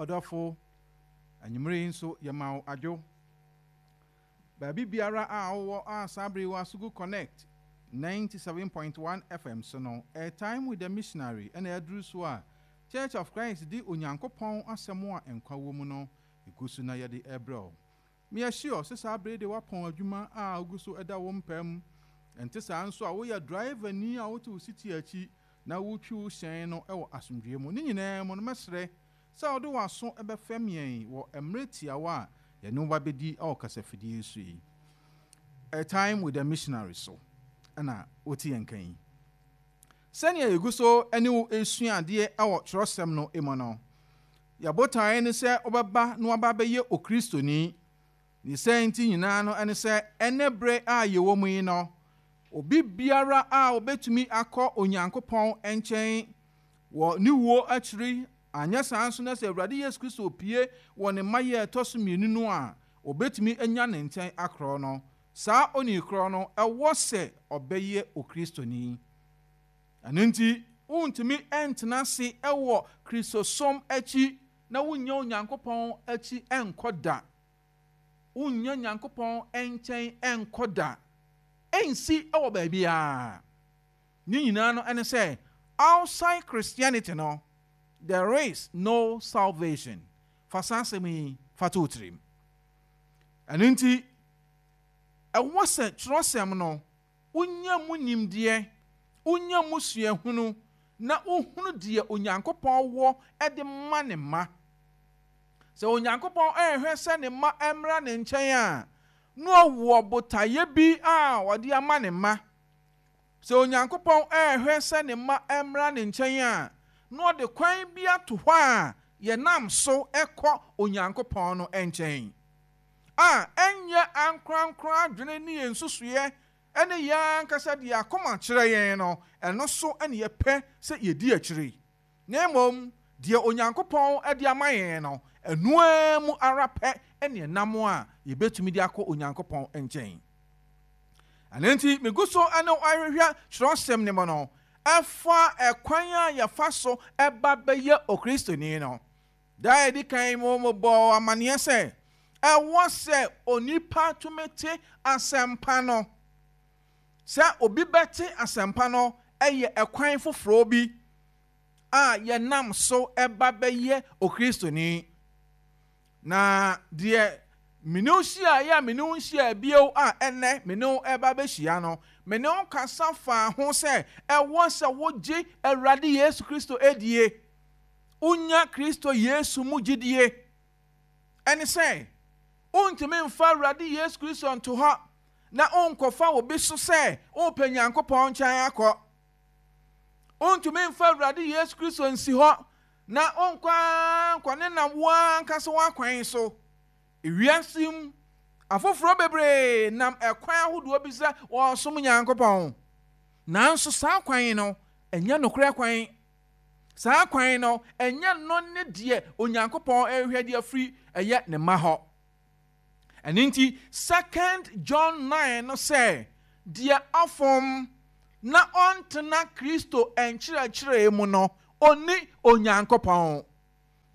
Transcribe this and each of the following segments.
Ɔdɔfo, anwummere yi nso yɛma wo adwo. Baabi biara a wowɔ a saa bere yi wɔ Asugu Connect 97.1 FM so no, A Time with the Missionary ɛna aduru so a Church of Christ de Onyankopɔn asɛm a nkwa wɔ mu no egu so na yɛde ɛbrɛ wo. Meyɛ sure sɛ saa bere de woapɔn adwuma a ogu so ɛda wo mpam. Ɛnte saa nso a, woyɛ driver ni a wote wo seat akyi na wotwi wo hyɛn no wɔ asomdwoe mu. Ne nyinaa mu no, mɛsrɛ sɛ wode w'aso bɛfɛm yɛn wɔ mmerɛ tiawa a yɛne wo ba bɛdi wɔ kasafidie so yi. A Time with the Missionary so ɛna wote yɛn kan yi. Sɛnea yɛgu so ne wo esua adeɛ wɔ twerɛsɛm no mu no, yɛbotaeɛ ne sɛ wobɛba na waba bɛyɛ Okristoni. Ne sɛ nti nyinaa no ɛne sɛ ɛnɛ berɛ a yɛwɔ mu yi no, obi biara a obɛtumi akɔ Onyankopɔn nkyɛn wɔ ne wuo akyiri, anyɛ saa nso na sɛ Awurade Yesu Kristo pie wɔ ne mma yɛ ɛtɔ so mmienu no a, obɛtumi anya ne nkyɛn akorɔ no, saa onii korɔ no ɛwɔ sɛ ɔbɛyɛ Okristoni. Ɛno nti, wontumi ntena ase wɔ Kristosom akyi na wonnya Onyankopɔn akyi nkɔ da. Wonnya Nyankopɔn nkyɛn nkɔ da. Ɛnsi wɔ baabiara. Ne nyinaa no ɛne sɛ outside Christianity no, there is no salvation. Fa saa asɛm yi fa to wo tirim. Ɛno nti, ɛwɔ sɛ twerɛsɛm no wonya mu nimdeɛ, wonya mu suahunu, na wohunu deɛ Onyankopɔn wɔ de ma ne mma. Sɛ Onyankopɔn ɛrehwɛ sɛ ne mma mmra ne nkyɛn a, na ɔwɔ botaeɛ bi a ɔde ama ne mma. Sɛ Onyankopɔn ɛrehwɛ sɛ ne mma mmra ne nkyɛn a, na ɔde kwan bi ato hɔ a yɛnam so kɔ Onyankopɔn no nkyɛn. A ɛnyɛ ankorankora adwene ne yɛn nsusuiɛ ne yɛn ankasa deɛ akoma kyerɛ yɛn no, ɛno so ne yɛpɛ sɛ yɛdi akyire. Na mmom, deɛ Onyankopɔn de ama yɛn no, ɛno ara mu ara pɛ ne ɛnam a yɛbɛtumi de akɔ Onyankopɔn nkyɛn. Ɛno nti, megu so ne ahwehwɛ twerɛsɛm no mu no, ɛfa ɛkwan a yɛfa so ɛba bɛyɛ Okristoni no. Da a ɛdi kan mu mobɔɔ amanneɛ sɛ ɛwɔ sɛ onipa tumi te asɛmpa no. Sɛ obi bɛte asɛmpa no yɛ ɛkwan foforɔ bi a yɛnam so ɛba bɛyɛ Okristoni. Na deɛ mene wo hyia a mene wo nhyia bio a ɛnɛ mene wo ɛba bɛhyia no, mene wo kasa faa ho sɛ ɛwɔ sɛ wogye Awurade Yesu Kristo adie. Wonya Kristo Yesu mu gyidie. Ɛne sɛ, wontumi mfa Awurade Yesu Kristo nto hɔ na wonkɔfa obi so sɛ wopɛ Nyankopɔn nkyɛn akɔ. Wontumi mfa Awurade Yesu Kristo nsi hɔ na wonkɔ ara nkɔ ne nam wo ankasa w'akwan so. Ewiase mu, afoforɔ bebree nam ɛkwan ahodoɔ bi sɛ wɔresom Nyankopɔn. Nanso saa kwan no, ɛnyɛ nokorɛ kwan. Saa kwan no, ɛnyɛ no ne deɛ Onyankopɔn rehwɛ de afiri ɛyɛ ne mma hɔ. Ɛno nti, Second John 9 no sɛ, deɛ ɔfom na ɔntena Kristo nkyerɛkyerɛ mu no, ɔnni Onyankopɔn.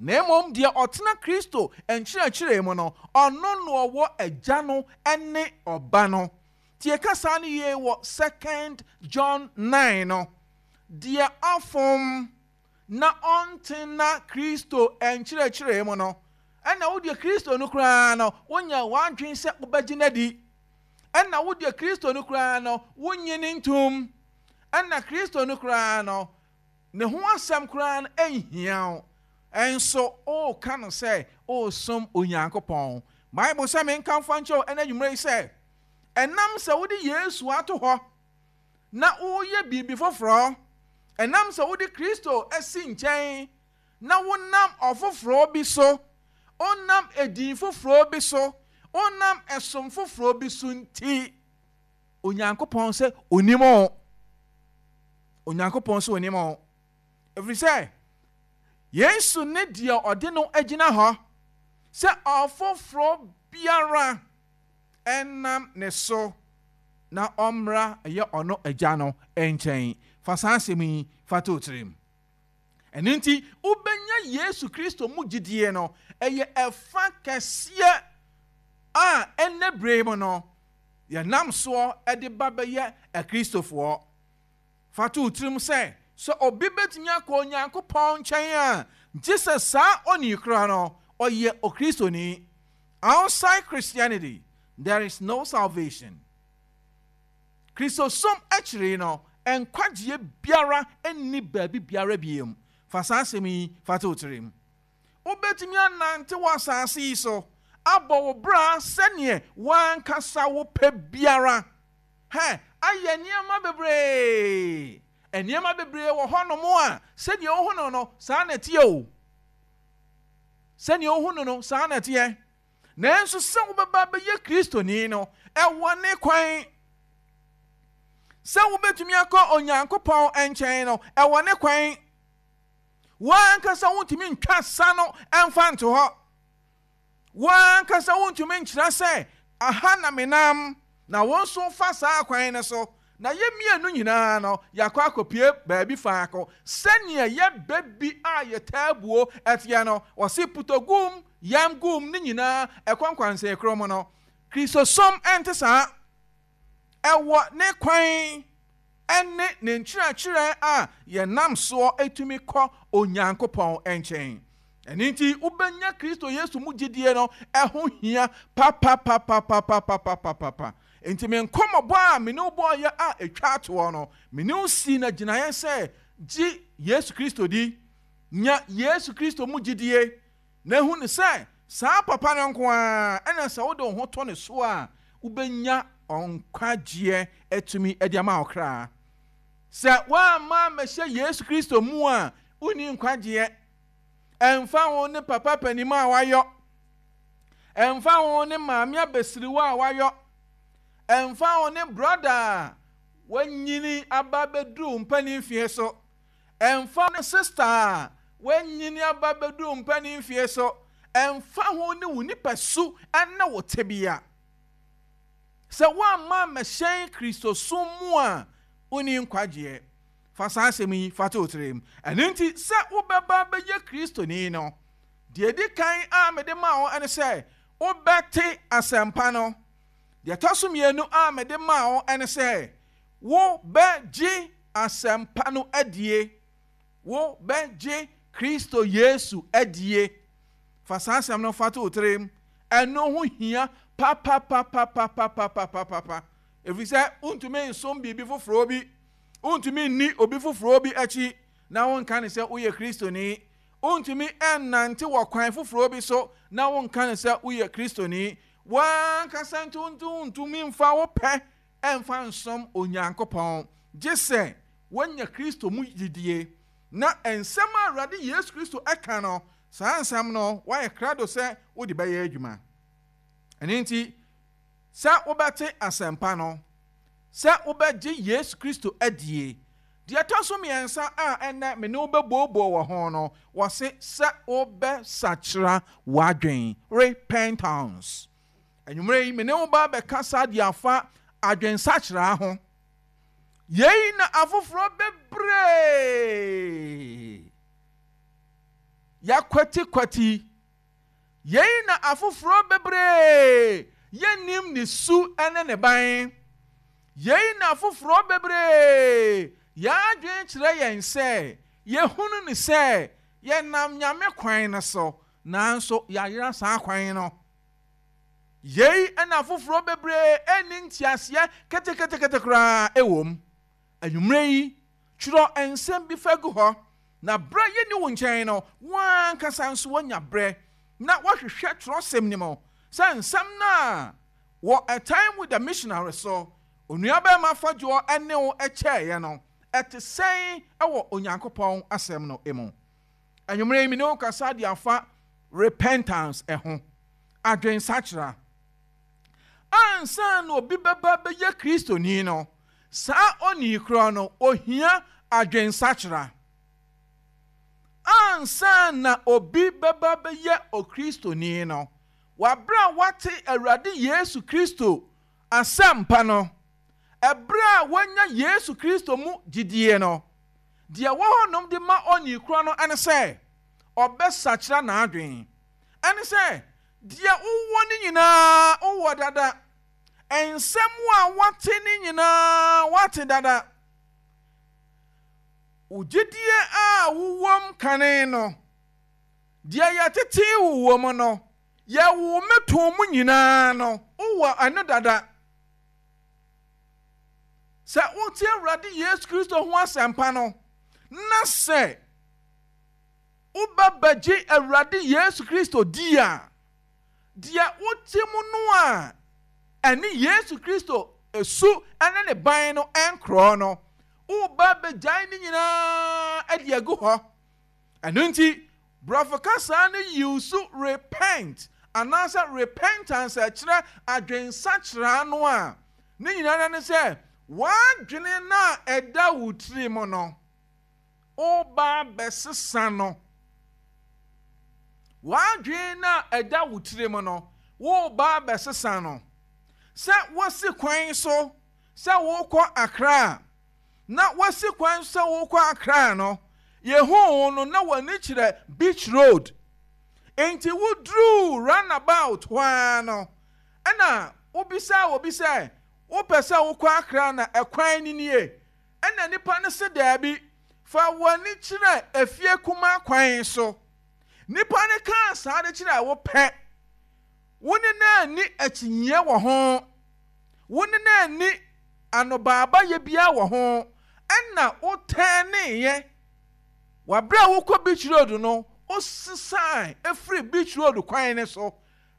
Na mmom deɛ ɔtena Kristo nkyerɛkyerɛ mu no, ɔno na ɔwɔ Agya no ne Ɔba no. Tie kasa no yie wɔ Second John 9 no. Deɛ ɔfom na ɔntena Kristo nkyerɛkyerɛ mu no, ɛna wo deɛ Kristo no koraa no, wonya w'adwene sɛ wobɛgye no adi. Ɛna wo deɛ Kristo no koraa no, wonnye no ntom. Ɛna Kristo no koraa no, ne ho asɛm koraa no nhia wo. Ɛnso woka no sɛ woresom Onyankopɔn. Bible sɛ menka mfa nkyerɛ wo ɛnɛ anwummerɛ yi sɛ, ɛnam sɛ wode Yesu ato hɔ na woyɛ biribi foforɔ, ɛnam sɛ wode Kristo asi nkyɛn na wonam ɔfoforɔ bi so, wonam edin foforɔ bi so, wonam ɛsom foforɔ bi so nti, Onyankopɔn sɛ onim wo. Onyankopɔn sɛ onim wo. Ɛfiri sɛ, Yesu ne deɛ ɔde no agyina hɔ sɛ ɔfoforɔ biara ɛnam ne so na ɔmmra ɛyɛ ɔno Agya no nkyɛn. Fa saa asɛm yi fa to tirim. Ɛno nti, wobɛnya Yesu Kristo mu gyidie no, ɛyɛ ɛfa kɛseɛ a ɛnnɛ berɛ yi mu no, yɛnam soɔ de ba bɛyɛ Akristofoɔ. Fa to wo tirim sɛ, sɛ obi bɛtumi akɔ Onyankopɔn nkyɛn a, gye sɛ saa onii korɔ no, ɔyɛ Okristoni. Outside Christianity, there is no salvation. Kristosom akyiri no, nkwagyeɛ biara nni baabi biara biom. Fa saa asɛm yi fa to wo tirim. Wobɛtumi anante wɔ asase yi so abɔ wo bra sɛdeɛ w'ankasa wopɛ biara. Hɛ, ayɛ nneɛma bebree. Nneɛma bebree wɔ hɔnom a, sɛdeɛ wohu no no, saa na ɛteɛ o. Sɛdeɛ wohu no no, saa na ɛteɛ. Nanso sɛ wobɛba abɛyɛ Kristoni no, ɛwɔ ne kwan. Sɛ wobɛtumi akɔ Onyankopɔn nkyɛn no, ɛwɔ ne kwan. W'ankasa wontumi ntwa sa no mfa nto hɔ. W'ankasa wontumi nkyerɛ sɛ, Aha na menam, na wo nso fa saa kwan no so. Na yɛn mmienu nyinaa no, yɛakɔ akɔpue baabi faako. Sɛdeɛ yɛ bɛ bi a yɛtaa buo teɛ no, wɔse putɔ gum, yam gum, ne nyinaa ɛkɔ nkwansɛn korɔ mu no, Kristosom nte saa. Ɛwɔ ne kwan ne ne nkyerɛkyerɛ a yɛnam soɔ tumi kɔ Onyankopɔn nkyɛn. Ɛno nti, wobɛnya Kristo Yesu mu gyidie no, ɛho hia papapapapapapapapa. Enti me nkɔmmɔbɔ a me ne wo bɔeɛ a ɛtwa toɔ no, me ne wo sii no agyinaeɛ sɛ, gye Yesu Kristo di. Nya Yesu Kristo mu gyidie, na hu no sɛ saa papa no nko ara na sɛ wode wo ho to ne so a, wobɛnya nkwagyeɛ atumi de ama wo kra. Sɛ woamma ammɛhyɛ Yesu Kristo mu a, wonni nkwagyeɛ. Ɛmfa ho ne papa panin a wayɔ, ɛmfa ho ne maame abasiriwa a wayɔ, ɛmfa ho ne brɔda a wanyini aba abɛduru mpanin mfeɛ so, ɛmfa ho ne sista a wanyini aba abɛduru mpanin mfeɛ so, ɛmfa ho ne wo nipasu ne wo tebea. Sɛ woamma ammɛhyɛn Kristosom mu a, wonni nkwagyeɛ. Fa saa asɛm yi fa to wo tirim. Ɛno nti, sɛ wobɛba abɛyɛ Kristoni no, deɛ ɛdi kan a mede maa wo ne sɛ wobɛte asɛmpa no. Deɛ ɛtɔ so mmienu a mede maa wo ne sɛ wobɛgye asɛmpa no adie. Wobɛgye Kristo Yesu adie. Fa saa asɛm no fa to wo tirim. Ɛno ho hia papapapapapapapapa. Ɛfiri sɛ wontumi nsom biribi foforɔ bi. Wontumi nni obi foforɔ bi akyi na wonka no sɛ woyɛ Kristoni. Wontumi nnante wɔ kwan foforɔ bi so na wonka no sɛ woyɛ Kristoni. W'ankasa nso wontumi mfa wo pɛ mfa nsom Onyankopɔn gye sɛ woanya Kristo mu gyidie. Na nsɛm a Awurade Yesu Kristo ka no, saa nsɛm no woayɛ krado sɛ wode bɛyɛ adwuma. Ɛno nti, sɛ wobɛte asɛmpa no, sɛ wobɛgye Yesu Kristo adie. Deɛ ɛtɔ so mmiɛnsa a ɛnnɛ me ne wo bɛbooboo wɔ ho no, wɔse sɛ wobɛsakyera w'adwen, repentance. Anwummerɛ yi, me ne wo ba bɛkasa de afa adwensakyera ho. Yei na afoforɔ bebree yɛakwatikwati. Yei na afoforɔ bebree yɛnnim ne su ne ne ban. Yei na afoforɔ bebree yɛn adwene kyerɛ yɛn sɛ yɛhunu no sɛ yɛnam Nyame kwan no so, nanso yɛayera saa kwan no. Yei na afoforɔ bebree nni nteaseɛ keteketekete koraa wɔ mu. Anwummerɛ yi, twerɛ nsɛm bi fa gu hɔ, na berɛ a yɛnni wo nkyɛn no, wo ara ankasa nso woanya berɛ na woahwehwɛ twerɛsɛm no mu sɛ nsɛm no a wɔ A Time with the Missionary so Onuabarima Fodjour ne wo kyɛeɛ no, ɛte sɛn wɔ Onyankopɔn Asɛm no mu. Anwummerɛ yi, me ne wo kasa de afa repentance ho, adwensakyera. Ansa na obi bɛba bɛyɛ Kristoni no, saa onii korɔ no, ohia adwensakyera. Ansa na obi bɛba bɛyɛ Okristoni no, wɔ berɛ a wate Awurade Yesu Kristo asɛmpa no, ɛberɛ a wanya Yesu Kristo mu gyidie no, Deɛ ɛwɔ hɔnom de ma onii korɔ no ne sɛ ɔbɛsakyera n'adwene. Ɛne sɛ, deɛ wowɔ no nyinaa wowɔ dada. Nsɛm a woate no nyinaa woate dada. Wo gyidie a wowom kane no, deɛ yɛtetee wo wɔ mu no, yɛwoo me too mu nyinaa no, wowɔ ɛno dada. Sɛ wote Awurade Yesu Kristo ho asɛmpa no, na sɛ wobɛbɛgye Awurade Yesu Kristo di a, deɛ wote mu no a ɛne Yesu Kristo su ne ne ban no nkorɔ no, woreba abɛgyae ne nyinaa de agu hɔ. Ɛno nti, Borɔfo kasa no use repent anaasɛ repentance a ɛkyerɛ adwensakyera no a, ne nyinaa ne sɛ w'adwene no a ɛda wo tirim no, woreba abɛsesa no. W'adwene no a ɛda wo tirim no, woreba abɛsesa no. Sɛ wosi kwan so sɛ worekɔ Accra a, na woasi kwan so sɛ worekɔ Accra no, yɛhuu wo no na w'ani kyerɛ Beach Road. Enti woduruu runabout hɔ ara no, ɛna wobisaa obi sɛ, wopɛ sɛ wokɔ Accra na ɛkwan no nie? Ɛna nipa no se daabi, fa w'ani kyerɛ efie kumaa kwan so. Nipa no kaa saa de kyerɛɛ wo pɛ, wo ne no anni akyinnyeɛ wɔ ho. Wo ne no anni anobaabayɛ biara wɔ ho, ɛna wo tɛɛneeɛ. Wɔ berɛ a wokɔ Beach Road no, wosesae firii Beach Road kwan no so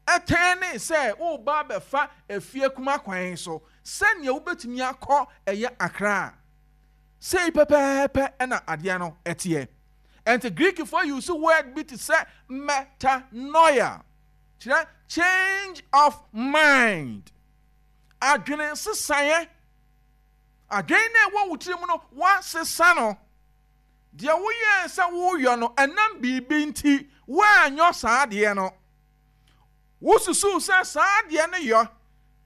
tɛɛnee sɛ woreba abɛfa Efie Kuma kwan so sɛdeɛ wobɛtumi akɔ ɛyɛ Accra. Sei pɛpɛɛpɛ na adeɛ no teɛ. Ɛnti Greekfoɔ use word bi te sɛ metanoia. Kyerɛ change of mind. Adwene nsesaeɛ. Adwene no a ɛwɔ wo tirim no, woasesa no. Deɛ woyɛɛ sɛ woreyɔ no, ɛnam biribi nti, woanyɔ saa adeɛ no. Wosusuu sɛ saa adeɛ no yɔ,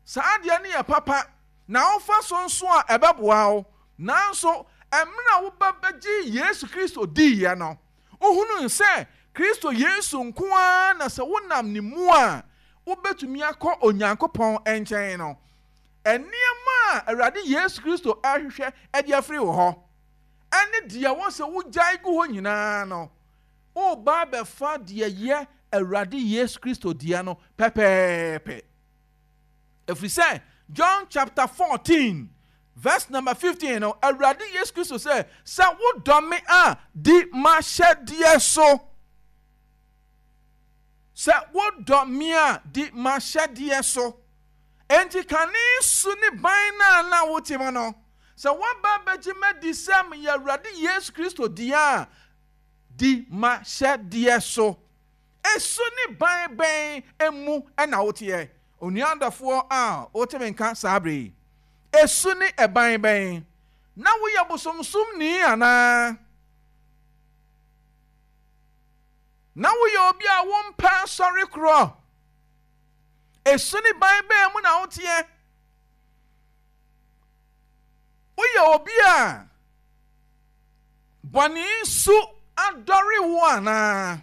saa adeɛ no yɛ papa, na wofa so nso a ɛbɛboa wo. Nanso, mmerɛ a woba bɛgyee Yesu Kristo diiɛ no, Wohunuu sɛ Kristo Yesu nko ara na sɛ wonam ne mu a, wobɛtumi akɔ Onyankopɔn nkyɛn no. Nneɛma a Awurade Yesu Kristo rehwehwɛ de afiri wo hɔ, ne deɛ ɛwɔ sɛ wogyae gu hɔ nyinaa no, woreba abɛfa deɛ ɛyɛ Awurade Yesu Kristo dea no pɛpɛɛpɛ. Ɛfiri sɛ, John chapter 14 verse number 15 no, Awurade Yesu Kristo sɛ, sɛ wodɔ me a, di m'ahyɛdeɛ so. Sɛ wodɔ me a, di m'ahyɛdeɛ so. Enti kane su ne ban no a na wote mu no, sɛ woaba abɛgye m'adi sɛ meyɛ Awurade Yesu Kristo dea a, di m'ahyɛdeɛ so. Su ne ban bɛn mu na woteɛ, onua dɔfoɔ a wote me nka saa berɛ yi? Su ne ban bɛn? Na woyɛ bosomsomni anaa? Na woyɛ obi a wompɛ asɔre korɔ? Su ne ban bɛn mu na woteɛ? Woyɛ obi a bɔne su adɔre wo anaa?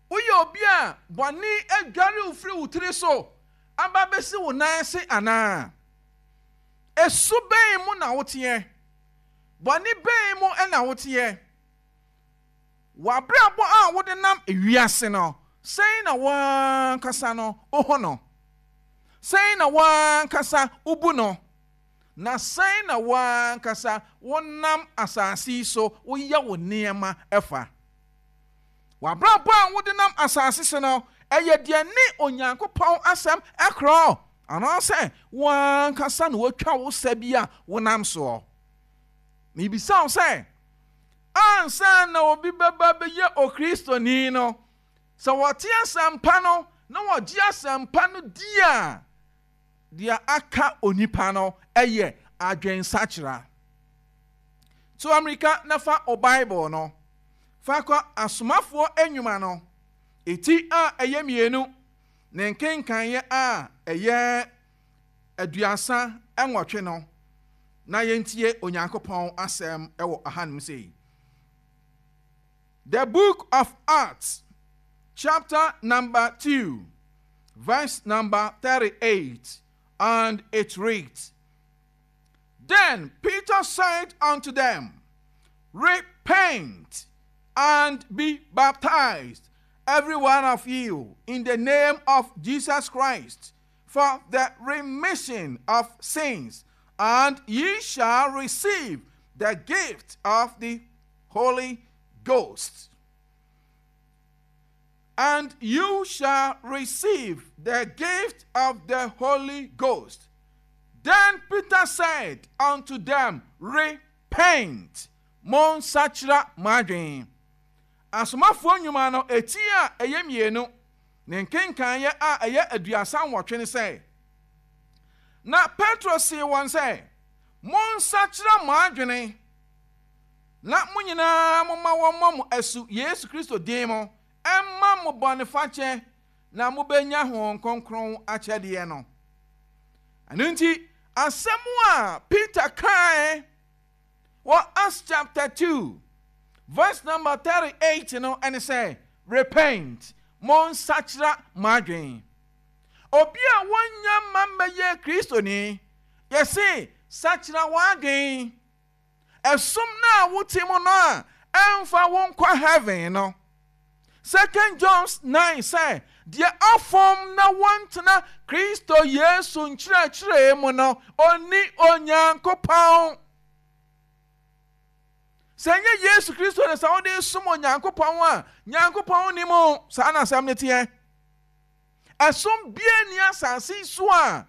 Woyɛ obi a bɔne adware wo firi wo tiri so aba bɛsi wo nan ase anaa? Esu bɛn mu na woteɛ? Bɔne bɛn mu na woteɛ? W'abrabɔ a wode nam wiase no, sɛn na wo ankasa no wohu no? Sɛn na wo ankasa wobu no? Na sɛn na wo ankasa wonam asase yi so woyɛ wo nneɛma fa? W'abrabɔ a wode nam asase so no, ɛyɛ deɛ ne Onyankopɔn asɛm korɔ, anaasɛ wo ankasa na wotwa wo sɛ bi a wonam soɔ? Mebisa wo sɛ, ansa na obi bɛba bɛyɛ Okristoni no, sɛ wɔte asɛmpa no na wɔgye asɛmpa no di a, deɛ aka onipa no yɛ adwensakyera. Tu ammirika na fa wo Bible no fa kɔ Asomafoɔ Nnwuma no ti a ɛyɛ mmienu ne nkenkaneɛ a ɛyɛ 38 no. na yɛntie Onyankopɔn asɛm wɔ ahanom sei. The book of Acts, chapter number 2, verse number 38, and it reads, Then Peter said unto them, Repent and be baptized, every one of you, in the name of Jesus Christ, for the remission of sins, and ye shall receive the gift of the Holy Ghost. And you shall receive the gift of the Holy Ghost. Then Peter said unto them, Repent, monsakyera mo adwene. Asomafoɔ nnwuma no eti a ɛyɛ mmienu, ne nkenkaneɛ a ɛyɛ 38 ne sɛ, Na Petro see wɔn sɛ, Monsakyera mo adwene, na mo nyinaa momma wɔmmɔ mo asu Yesu Kristo din mu mma mo bɔnefakyɛ, na mobɛnya Honhom Kronkron akyɛdeɛ no. Ɛno nti, asɛm a Peter kae wɔ Acts chapter 2 verse number 38 no ɛne sɛ, Repent, monsakyera mo adwene. Obi a wɔnnya mma mmɛyɛ Kristoni, yɛse sakyera w'adwene. Ɛsom no a wote mu no a ɛmfa wo nkɔ heaven no. Second John 9 sɛ, Deɛ ɔfom na wɔntena Kristo Yesu nkyerɛkyerɛ mu no, ɔnni Onyankopɔn. Sɛ ɛnyɛ Yesu Kristo na sɛ wode som Onyankopɔn a, Nyankopɔn nni mu. Saa na asɛm no teɛ. Ɛsom biara nni asase yi so a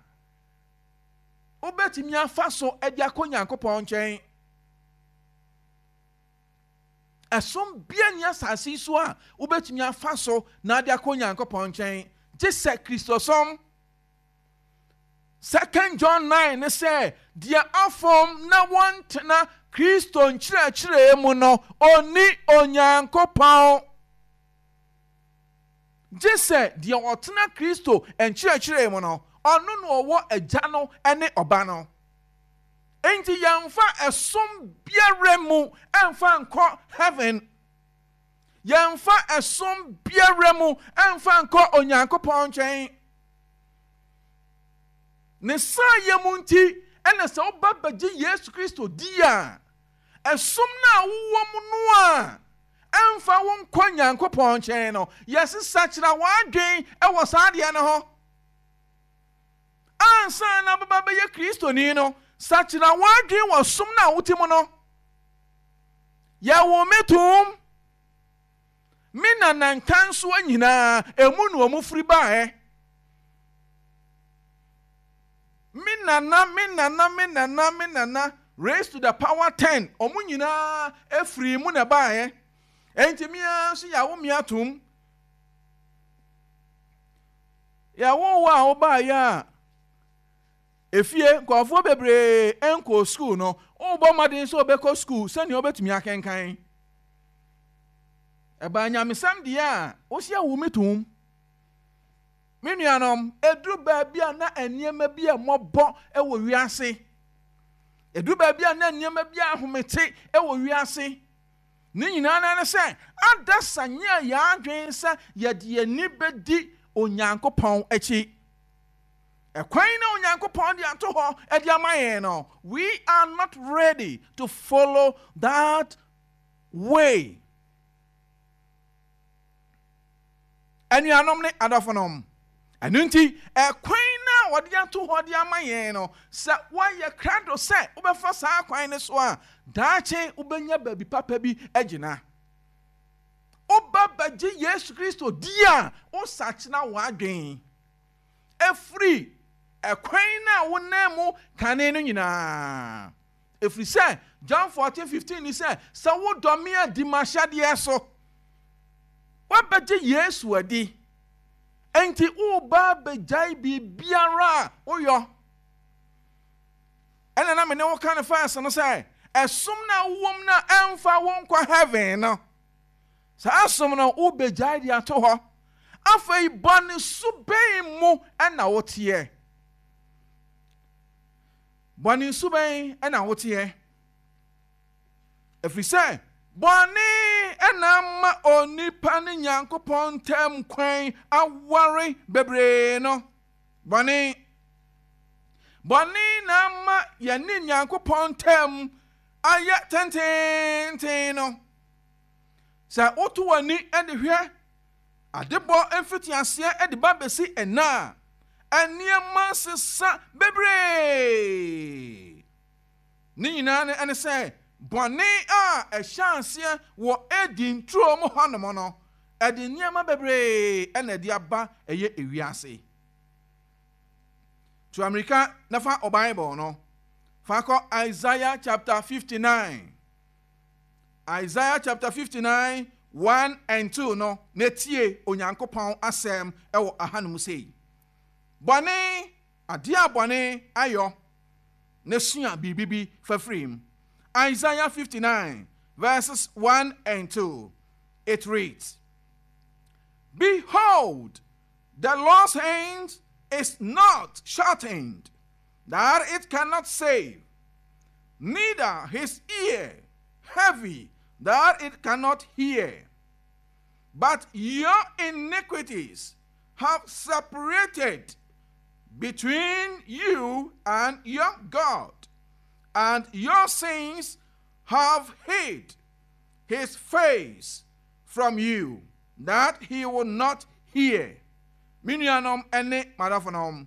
wobɛtumi afa so de akɔ Nyankopɔn nkyɛn. Ɛsom biara nni asase yi so a wobɛtumi afa so na ade akɔ Nyankopɔn nkyɛn gye sɛ Kristosom. Second John 9 ne sɛ deɛ afom na wɔntena Kristo nkyerɛkyerɛ mu no, ɔnni Onyankopɔn. Gye sɛ deɛ ɔtena Kristo nkyerɛkyerɛ mu no, ɔno na ɔwɔ Agya no ne Ɔba no. Enti yɛmfa ɛsom biara mu mfa nkɔ heaven. Yɛmfa ɛsom biara mu mfa nkɔ Onyankopɔn nkyɛn. Ne saayɛ mu nti, ɛna sɛ woba bɛgye Yesu Kristo di a, ɛsom no a wowɔ mu no a ɛmfa wo nkɔ Nyankopɔn nkyɛn no, yɛsesa kyerɛ w'adwen wɔ saa adeɛ no ho. Ansa na wobɛba bɛyɛ Kristoni no, sakyera w'adwene wɔ som no a wote mu no. Yɛwoo me toom. Me nana nkansoa nyinaa, emu na wɔn firi baeɛ. Me nana, me nana, me nana, me nana, raised to the power 10, wɔn nyinaa firi mu na ɛbaeɛ. Enti me ara nso yɛawo me atom. Yɛwoo wo a wobaeɛ a, efie nkurɔfoɔ bebree nkɔɔ sukuu no, wobɔ mmɔden sɛ wobɛkɔ sukuu sɛnea wobɛtumi akenkan. Ɛbaa nyamesɛm deɛ a, wosi awo me tom. Me nuanom, ɛduru baabi a na nneɛma bi a mmɔbɔ wɔ wiase. Ɛduru baabi a na nneɛma bi a ahomete wɔ wiase. Ne nyinaa no ne sɛ, adasa nyɛɛ yɛn adwene sɛ yɛde yɛn ani bɛdi Onyankopɔn akyi. Ɛkwan na Onyankopɔn de ato hɔ de ama yɛn no, we are not ready to follow that way. Anuanom ne adɔfonom, ɛno nti, ɛkwan no a wɔde ato hɔ de ama yɛn no, sɛ woayɛ krado sɛ wobɛfa saa kwan no so a, daakye wobɛnya baabi papa bi agyina. Woba bɛgye Yesu Kristo di a, wosakyera w'adwen ɛfiri ɛkwan no a wonam mu kane no nyinaa. Ɛfiri sɛ, John 14:15 ni sɛ, sɛ wodɔ me a, di m'ahyɛdeɛ so. Woabɛgye Yesu adi, enti woreba abɛgyae biribiara a woyɔ. Ɛna na me ne wo ka no first no sɛ, ɛsom no a wowom no a ɛmfa wo nkɔ heaven no, saa som no wobɛgyae de ato hɔ. Afei bɔne su bɛn mu na woteɛ? Bɔne su bɛn na woteɛ? Ɛfiri sɛ bɔne na ama onipa ne Nyankopɔn ntam kwan aware bebree no. Bɔne. Bɔne na ama yɛne Nyankopɔn ntam ayɛ tenteenten no. Sɛ woto w'ani de hwɛ adebɔ mfitiaseɛ de ba bɛsi ɛnnɛ a, nneɛma sesa bebree. Ne nyinaa no ne sɛ bɔne a ɛhyɛ aseɛ wɔ Eden turo mu hɔnom no, ɛde nneɛma bebree na ɛde aba ɛyɛ ewiase. Tu amirika na fa wo Bible no fa kɔ Isaiah chapter 59. Isaiah chapter 59, 1 and 2 no, na tie Onyankopɔn asɛm wɔ ahanom sei. Bɔne, adeɛ a bɔne ayɔ, na sua biribi bi fa firi mu. Isaiah 59 verses 1 and 2, it reads, Behold, the Lord's hand is not shortened, that it cannot save, neither his ear heavy, that it cannot hear. But your iniquities have separated between you and your God, and your sins have hid his face from you, that he will not hear. Me nuanom ne m'adɔfonom,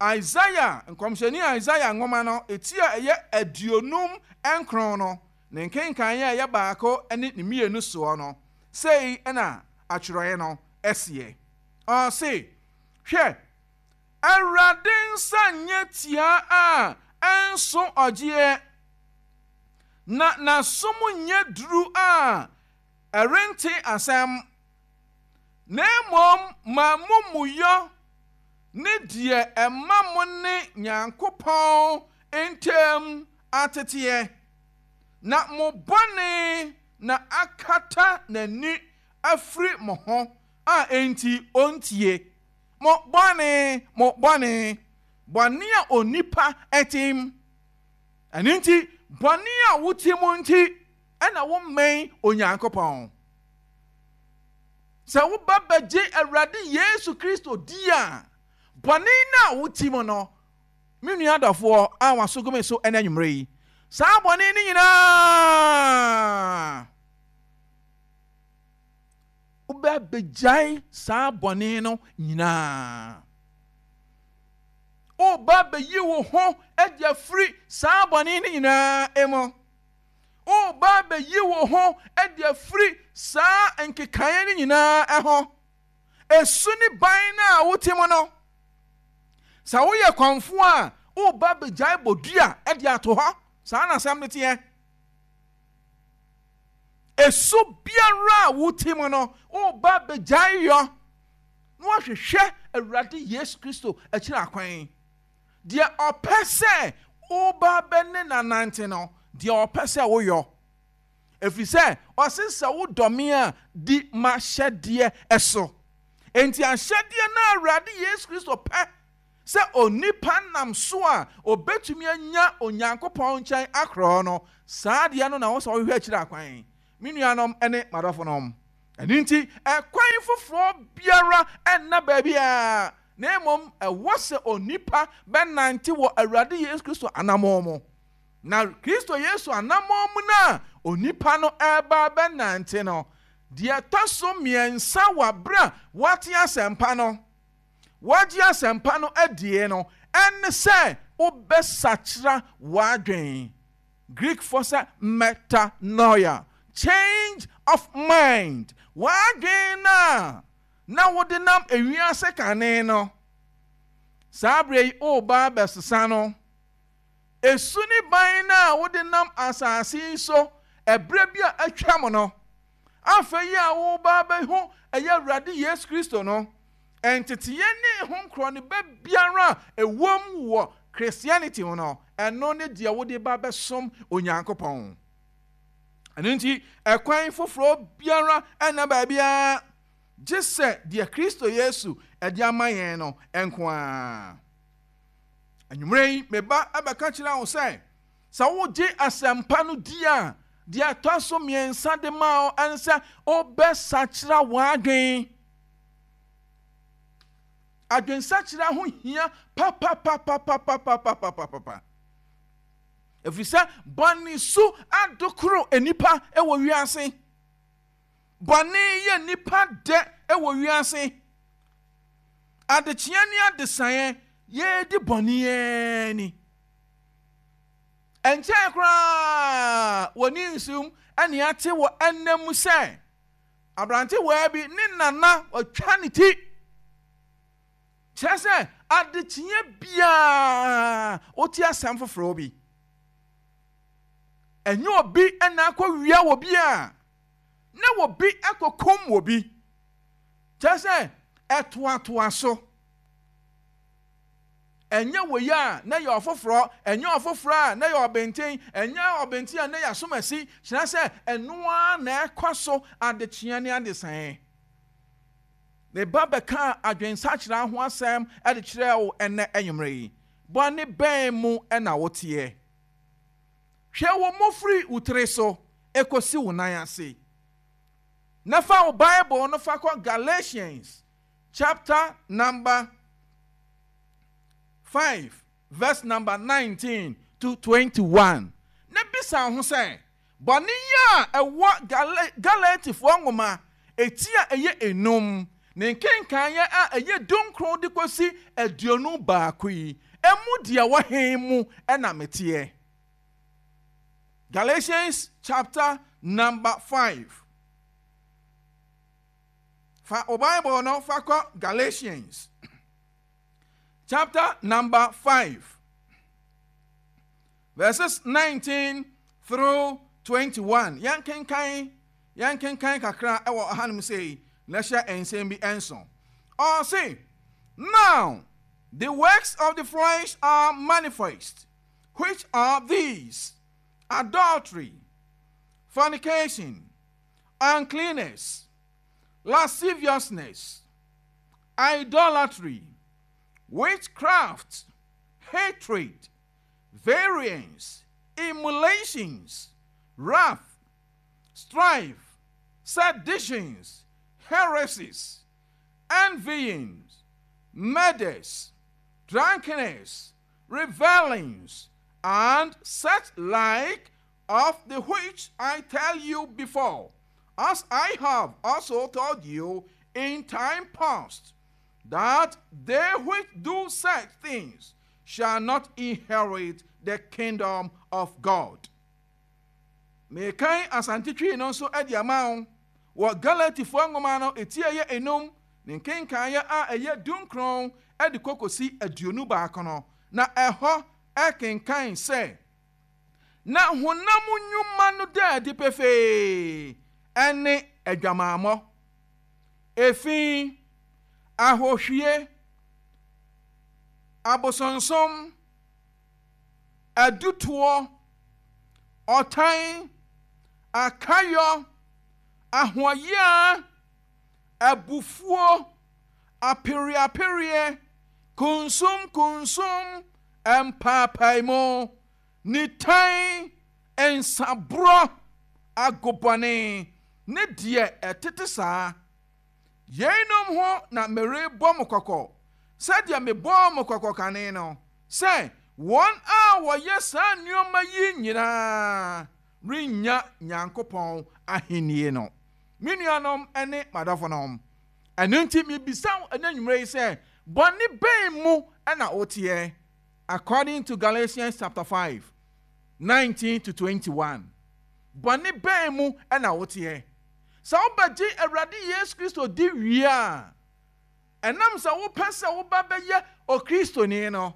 Isaiah, nkɔmhyɛni Isaiah nwoma no, eti a ɛyɛ 59 no, ne nkenkan a ɛyɛ baako ne ne mmienu soɔ no, sei na atwerɛeɛ no seɛ. Ɔse, Hwɛ, Awurade nsa nyɛ tiaa a ɛnso ɔgyeɛ, na n'asom nyɛ duru a ɛrente asɛm, na mmom m'amumuyɔ ne deɛ ɛma mo ne Nyankopɔn ntam ateteɛ, na mo bɔne na akata n'ani afiri mo ho a enti ɔntie. Mo bɔne, mo bɔne, bɔne a onipa te mu. Ɛno nti, bɔne a wote mu nti na wommɛn Onyankopɔn. Sɛ woba bɛgye Awurade Yesu Kristo di a, bɔne no a wote mu no, me nua dɔfoɔ a waso gu me so ɛnɛ anwummerɛ yi, saa bɔne no nyinaa, wobɛbɛgyae saa bɔne no nyinaa. Woba bɛyi wo ho adi afiri saa bɔne no nyinaa mu. Woreba abɛyi wo ho adi afiri saa nkekaeɛ no nyinaa ho. Esu ne ban no a wote mu no, sɛ woyɛ kɔmfoɔ a, woreba abɛgyae bodua de ato hɔ. Saa na asɛm no teɛ. Esu biara a wote mu no, woreba abɛgyae yɔ na woahwehwɛ Awurade Yesu Kristo akyiri akwan. Deɛ ɔpɛ sɛ woba bɛ ne no anante no, deɛ ɔpɛ sɛ woyɔ. Ɛfiri sɛ ɔse sɛ wodɔ me a, di m'ahyɛdeɛ so. Enti ahyɛdeɛ no a Awurade Yesu Kristo pɛ sɛ onipa nam so a ɔbɛtumi anya Onyankopɔn nkyɛn akorɔ no, saa adeɛ no na ɛwɔ sɛ wohwehwɛ akyiri akwan, me nuanom ne m'adɔfonom. Ɛno nti, ɛkwan foforɔ biara nna baabiara, na mmom ɛwɔ sɛ onipa bɛnante wɔ Awurade Yesu Kristo anammɔn mu. Na Kristo Yesu anammɔn mu no a onipa no reba abɛnante no, deɛ ɛtɔ so mmiɛnsa wɔ berɛ a wate asɛmpa no, wagye asɛmpa no adie no, ɛne sɛ wobɛsakyera w'adwene. Greekfoɔ sɛ metanoia, change of mind, w'adwene no a na wode nam ewiase kane no, saa berɛ yi woreba abɛsesa no. Esu ne ban no a wode nam asase yi so ɛberɛ bi a atwam no, afei yi a woreba abɛhu ɛyɛ Awurade Yesu Kristo no, nteteeɛ ne ho nkorɔneba biara a ɛwom wɔ Christianity ho no, ɛno ne deɛ wode ba bɛsom Onyankopɔn. Ɛno nti, ɛkwan foforɔ biara nna baabiara gye sɛ deɛ Kristo Yesu de ama yɛn no nko ara. Anwummerɛ yi, me ba bɛka kyerɛ wo sɛ, sɛ wogye asɛmpa no di a, deɛ ɛtɔ so mmiɛnsa de ma wo ɛne sɛ wobɛsakyera w'adwen. Adwensakyera ho hia papapapapapapapapa. Ɛfiri sɛ bɔne su adokoro nnipa wɔ wiase. Bɔne yɛ nnipa dɛ wɔ wiase. Adekyeɛ ne adesaeɛ, yɛredi bɔne ara ni. Ɛnkyɛe koraa wɔ ne nsum ne ate wɔ ɛnna mu sɛ aberantewaa bi ne nana watwa ne ti. Kyerɛ sɛ adekyeɛ biara wote asɛm foforɔ bi. Ɛnyɛ obi na akɔwia wɔ bi a, na obi akɔkum wɔ bi. Kyerɛ sɛ, ɛtoatoa so. Ɛnyɛ wei a na ɛyɛ ɔfoforɔ, ɛnyɛ ɔfoforɔ a na ɛyɛ ɔbenten, ɛnyɛ ɔbenten a na ɛyɛ asomasi. Kyerɛ sɛ, ɛno ara na ɛkɔ so adekyeɛ ne adesaeɛ. Ne ba bɛkaa adwensakyera ho asɛm de kyerɛɛ wo ɛnnɛ anwummerɛ yi. Bɔne bɛn mu na woteɛ? Hwɛ wo mu firi wo tiri so kɔsi wo nan ase, na fa wo Bible no fa kɔ Galatians chapter number 5 verse number 19 to 21, na bisa wo ho sɛ, Bɔne yi a ɛwɔ Galatifoɔ nwoma eti a ɛyɛ enum, ne nkenkaneɛ a ɛyɛ dunkron de kɔsi 21 yi, emu deɛ ɛwɔ he mu na meteɛ? Galatians chapter number 5. Fa wo Bible no fa kɔ Galatians chapter number 5. Verses 19 through 21. Yɛnkenkan, yɛnkenkan kakra wɔ hanom sei na hyɛ nsɛm bi nso. Ɔse, Now the works of the flesh are manifest, which are these: adultery, fornication, uncleanness, lasciviousness, idolatry, witchcraft, hatred, variance, emulations, wrath, strife, seditions, heresies, envyings, murders, drunkenness, revelings, and such like, of the which I tell you before, as I have also told you in time past, that they which do such things shall not inherit the kingdom of God. Mekan Asante Twi no nso de ama wo wɔ Galatifoɔ nwoma no eti a ɛyɛ enum ne nkenkaeɛ a ɛyɛ dunkron de kɔ kɔsi 21 no, na ɛhɔ kenkan sɛ, Na honam nnwuma no da adi pefee, ɛne adwamammɔ, efi, ahohwie, abosonsom, adutoɔ, ɔtan, akayɔ, ahoɔyea, abufuo, apereapereɛ, kunsunkunsun, mpaapaemu, nitan, nsaborɔ, agobɔne, ne deɛ ɛtete saa. Yeinom ho na merebɔ mo kɔkɔ, sɛdeɛ mebɔɔ mo kɔkɔ kane no, sɛ wɔn a wɔyɛ saa nneɛma yi nyinaa rennya Nyankopɔn ahennie no. Me nuanom ne m'adɔfonom, ɛno nti mebisa wo ɛnnɛ anwummerɛ yi sɛ, bɔne bɛn mu na woteɛ? According to Galatians chapter 5, 19 to 21, bɔne bɛn mu na woteɛ? Sɛ wobɛgye Awurade Yesu Kristo di wie a, ɛnam sɛ wopɛ sɛ woba bɛyɛ Okristoni no,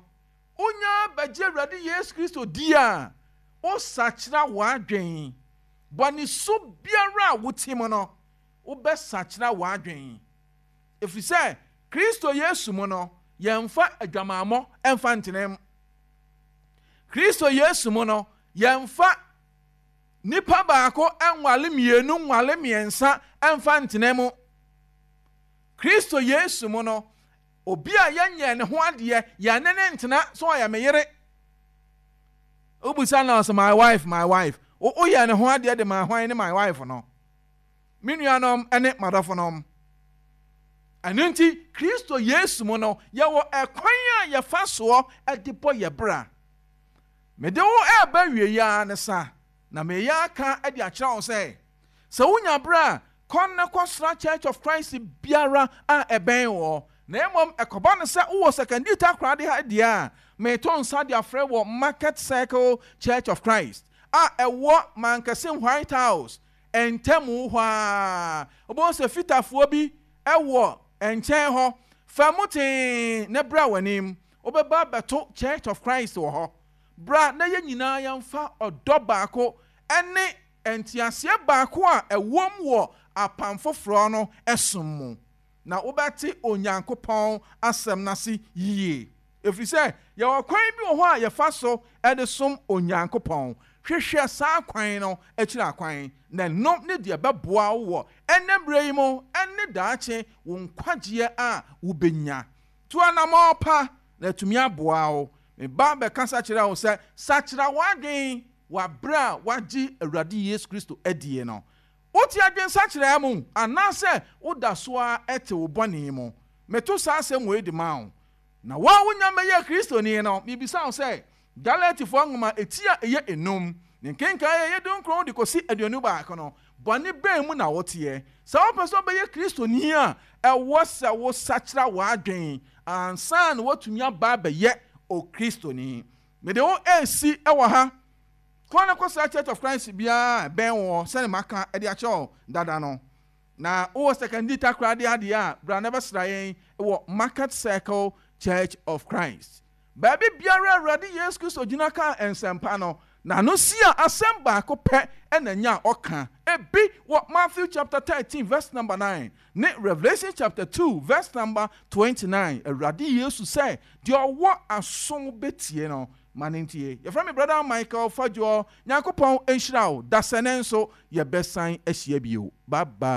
wonya bɛgye Awurade Yesu Kristo di a, wosakyera w'adwen. Bɔne su biara a wote mu no, wobɛsakyera w'adwen. Ɛfiri sɛ Kristo Yesu mu no, yɛmfa adwamammɔ mfa ntenam. Kristo Yesu mu no, yɛmfa nipa baako nwale mmienu nwale mmiɛnsa mfa ntena mu. Kristo Yesu mu no, Obi a yɛnyɛɛ ne ho adeɛ, yɛne no ntena, sɛ ɔyɛ me yere. Wobisa no sɛ, my wife, my wife. Woyɛɛ ne ho adeɛ de maa hwan ne my wife no? Me nuanom ne m'adɔfonom, ɛno nti Kristo Yesu mu no, yɛwɔ ɛkwan a yɛfa soɔ de bɔ yɛ bra. Mede wo reba awieeɛ ara ne sa, na mereyɛ aka de akyerɛ wo sɛ, sɛ wonya berɛ a, kɔ na kɔsra Church of Christ biara a ɛbɛn woɔ. Na mmom ɛkɔba no sɛ wowɔ Sekondi Takoradi ha deɛ a, mereto nsa de afrɛ wɔ Market Circle Church of Christ a ɛwɔ Mankasim White House ntamu hɔ ara. Wobɛhu sɛ fitafoɔ bi wɔ nkyɛn hɔ. Fa mu tee na bra w'anim. Wobɛba abɛto Church of Christ wɔ hɔ. Bra na yɛn nyinaa yɛmfa ɔdɔ baako ne nteaseɛ baako a ɛwom wɔ Apam Foforɔ no som mu, na wobɛte Onyankopɔn Asɛm no ase yie. Ɛfiri sɛ yɛwɔ kwan bi wɔ hɔ a yɛfa so de som Onyankopɔn. Hwehwɛ saa kwan no akyiri akwan, na ɛno ne deɛ ɛbɛboa wo wɔ ɛnnɛ mmerɛ yi mu ne daakye wo nkwagyeɛ a wobɛnya. Tu anammɔn pa na atumi aboa wo. Me ba bɛkasa kyerɛɛ wo sɛ, Sakyera w'adwene wɔ berɛ a woagye Awurade Yesu Kristo adie no. Wote adwensakyeraɛ mu anaasɛ woda so ara te wo bɔne mu? Meto saa asɛm wei de ma wo. Na wo a wonnya mmɛyɛɛ Kristoni no, mebisa wo sɛ, Galatifoɔ nwoma eti a ɛyɛ enum, ne nkenkan a ɛyɛ dunkron de kɔsi 21 no, bɔne bɛn mu na woteɛ? Sɛ wopɛ sɛ wobɛyɛ Kristoni a, ɛwɔ sɛ wosakyera w'adwene ansa na woatumi aba abɛyɛ Okristoni. Mede wo resi wɔ ha. Kɔ na kɔsra Church of Christ biara a ɛbɛn woɔ sɛdeɛ maka de akyerɛ wo dada no. Na wowɔ Sekondi Takoradi adeɛ a, bra na bɛsra yɛn wɔ Market Circle Church of Christ. Baabi biara a Awurade Yesu Kristo gyina kaa nsɛmpa no, n'ano si a asɛm baako pɛ na nya a ɔka. Ebi wɔ Matthew chapter 13 verse number 9 ne Revelation chapter 2 verse number 29. Awurade Yesu sɛ, deɛ ɔwɔ aso bɛtie no, ma no ntie. Yɛfrɛ me Brother Michael Fadwoɔ. Nyankopɔn nhyira wo. Dasɛnɛ nso yɛbɛsan ahyia bio. Bye bye.